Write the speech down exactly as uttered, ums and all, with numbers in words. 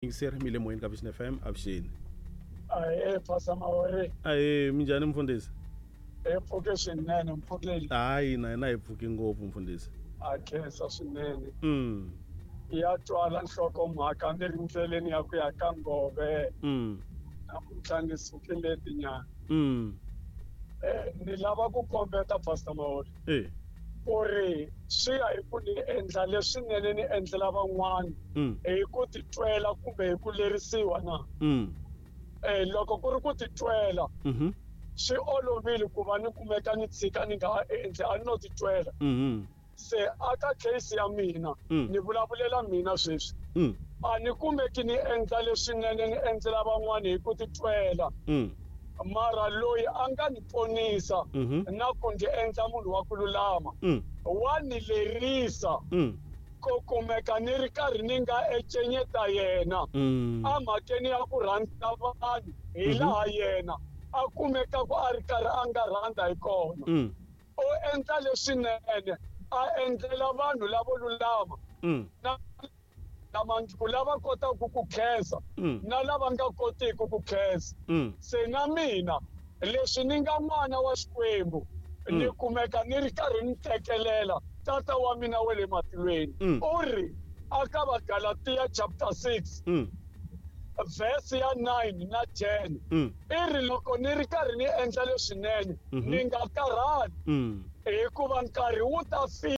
Yingiseri mi le moyeni ka Vision F M, avuxeni. Ahee, Pastor Mawere. Ahee, minjhani mfundhisi? Hi pfuke swinene mpfukeli. Hayi, na hina hi pfuke ngopfu mfundhisi. A khensa swinene. Mm. Ya twala nhlokomhaka ni ri ndleleni ya ku ya ka Ngove. Mm. Namuntlha ni sukile tinyana. Mm. Eh, ni lava ku kombeta Pastor Mawere. Eh. Ku ri swi ya hi ku ni endla leswinene ni endlela van'wana Mm. hi ku titwela kumbe hi ku lerisiwa na. Mm. Eh, loko ku ri ku titwela Mhm. swi olovile ku va ni kumeka ni tshika ni nga endli a ni no titwela. Mhm. Se aka case ya mina Mm. ni vulavulela mina sweswi Mm. a ni kumeki ni endla leswinene ni endlela van'wana hi ku titwela Mm. mara loyi a nga ni ponisa Mhm. na ku ndzi endla munhu wa ku lulama Mm. wa ni lerisa Mm. ku kumeka ni ri karhi ni nga encenyeta yena Mm. emhakeni ya ku rhandza vanhu hi Mhm. laha yena a kumeka ku a ri karhi a nga rhandza hi kona. Mm. U endla leswinene a endlela vanhu lavo lulama Mm. na lamangiku lava kotaka ku khensa Mm. na lava nga kotiki ku khensa. Mm. Se na mina leswi ni nga n'wana wa Xikwembu ni Mm. kumeka ni ri karhi ni tekelela tata wa mina wa le matilweni. Mm. U ri aka Vagalatiya chapter six Mm. verse ya nine na ten Mm. i ri loko ni ri karhi ni endla leswinene Mhm. ni nga karhali Mm. hikuva nkarhi wu ta fika.